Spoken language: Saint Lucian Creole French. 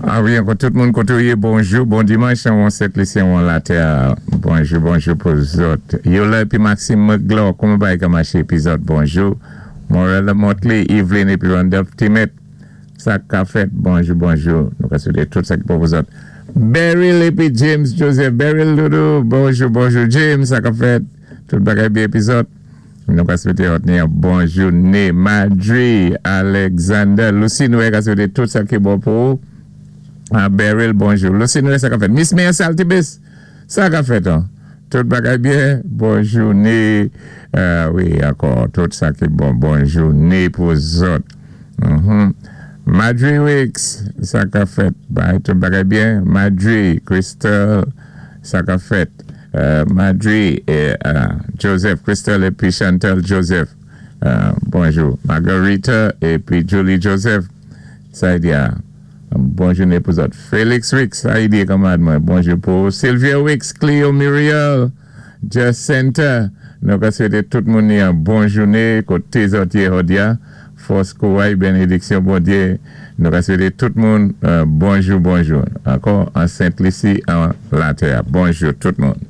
A wi, ankò tout moun koté ou yé, bonjou, bon dimanch, an Sent Lisi, an latè, bonjou, bonjou pou zòt. Yola épi Maxime Mcglaw, kouman bagay ka maché épi zòt, bonjou. Morella Motley, Evelyn épi Randolph Timet, sa ka fèt, bonjou, bonjou. Nou ka swété tout sa ki bon pou zòt. Beryl épi James Joseph, Beryl Doudou, bonjou, bonjou James, sa ka fèt, tout bagay byen épi zòt. Nou ka swété òt ni yon bon jouné. Madry, Alexander, Lucy Noé ka swété tout sa ki bon pou ou. Ah, Beryl, bonjou. Lucy Noé, sa ka fèt. Miss Mia Saltibus, sa ka fèt, an. Tout bagay byen, bon jouné. Wi, ankò, tout sa ki bon, bon jouné pou zòt. Madry Wicks, sa ka fèt. Bay, tout bagay byen. Madry, Crystal, sa ka fèt. Madry Joseph, Crystal épi Chantal Joseph, bonjou. Margarita épi Julie Joseph, sa di a, bon jouné pou zòt. Félix Wicks, sa di kanmarad mwen, bonjou pou Sylvia Wicks, Cleo Muriel, Jacinta, nou ka swété tout moun ni yon bon jouné koté zòt yé jòdi a. Fòs, kouray, bénédiksyon Bondyé. Nou ka swété tout moun bonjou, bonjou. Ankò an Sent Lisi, an latè. Bonjou tout moun.